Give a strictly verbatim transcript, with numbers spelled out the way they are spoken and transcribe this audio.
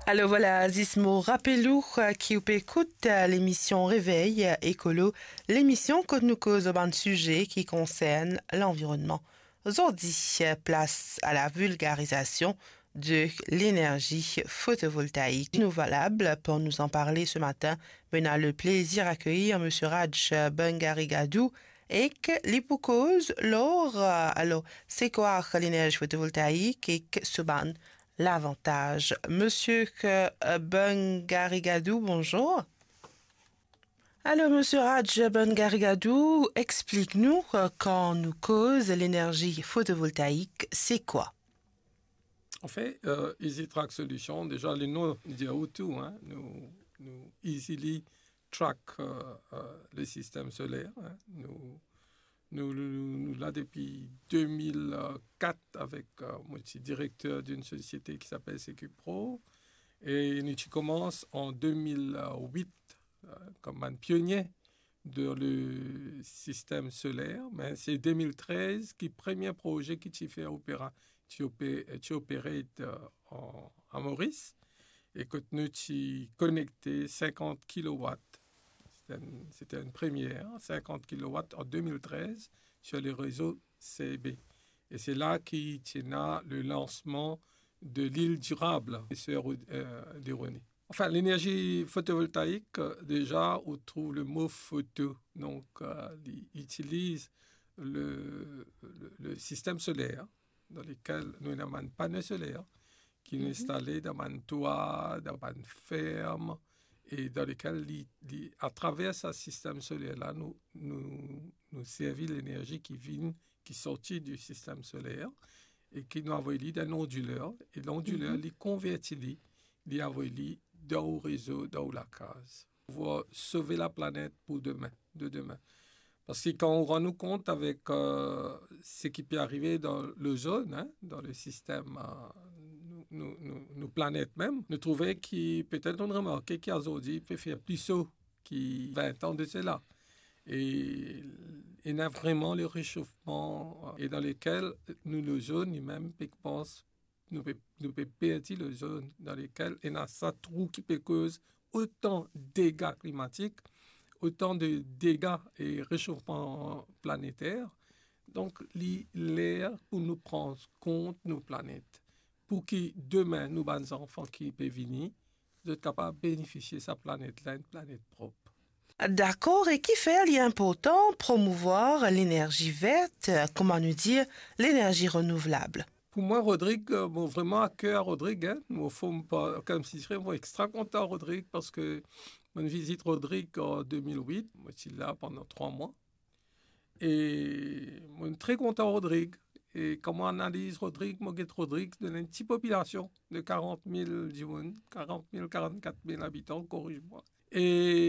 Alor vwala, zis mo rapel ou, eh, ki ou pe ekout, eh, lemision Revey, eh, Ekolo, lemision kot nou koz lor bann size ki konsern lanvironnman. Zordi, eh, plas a la vulgarizasion de lenerzi fotovoltaik. Nous voilà pour nous en parler ce matin. Mo ena le plezir akeyir Misie Raj Bangarigadou ek li pou koz lor, eh, alor, se kwa lenerzi fotovoltaik ek so bann lavantaz. Misie, eh, Bangarigadou, bonzour. Alor, Misie Raj Bangarigadou, explik nou, eh, kan nou koz lenerzi fotovoltaik, se kwa? Anfin, eh, Easy Track Solution, deza le nom li dir ou tou, hein. Nou, nou easily track, eh, eh, le sistem soler, hein. Nou, nou, nou, nou la depi de mil kat avek, eh, mo ti direkter d'une société qui s'appelle Secupro. E nou ti koumans an de mil wit, eh, kom bann pionie dan le sistem soler. Me se de mil trez ki premie proze ki ti fer opera, ti ope-, ti operate, eh, an, a Moris, e kot nou ti konekte sinkant kilowat. Se te enn, se te enn premie, sinkant kilowat an de mil trez sur le rezo C B. E se la ki ti ena le lansman de l'île durable, Sir, eh, Deroné. Anfin, lenerzi fotovoltaik, eh, deza, ou trouv le mo foto. Donk, eh, li itiliz le, le, le sistem soler, dan lekel nou ena bann pano soler ki nou instale dan bann twa, dan bann ferm, e dan lekel li, li, atraver sa sistem soler la, nou, nou, nou servi lenerzi ki vinn, ki sorti di sistem soler, e ki nou avoy li dan ondiler, e ondiler, li konverti li, li avoy li dan ou rezo, dan ou lakaz. Pou sove laplanet pou demin, de demin. Parski kan ou rann ou kont avek, eh, seki pe arive dan lozonn, hein, dan le sistem, eh, nou, nou, nou, nou planet mem, nou trouve ki, petet ou'nn remarke ki azordi pe fer pli so ki vin an de sela. E ena vreman le resofman, eh, e dan lekel nou lozonn, li mem pe koumans nou pe, nou pe perdi lozonn, dan lekel ena sa trou ki pe koz otan dega klimatik, otan de dega e resofman planeter. Donk, li ler pou nou pran kont nou planet, pou ki demin nou bann zanfan ki pe vini, zot kapav benefisie sa planet la, enn planet prop. Dakor, e kifer li inportan promouvwar lenerzi vert, kouma nou dir, lenerzi renouvlab? Pou mwa, Rodrig, eh, mo vreman a ker a Rodrig, hein. Mo form par, koumsi dir, mo extra kontan Rodrig, parski mo vizit Rodrig an de mil wit, mo ti la pandan trwa mwa. E mo tre kontan Rodrig. E kan mo analiz Rodrig, mo get Rodrig dan enn ti popilasion de karant mil dimoun, karant mil, karant-kat mil abitan, koriz mwa. E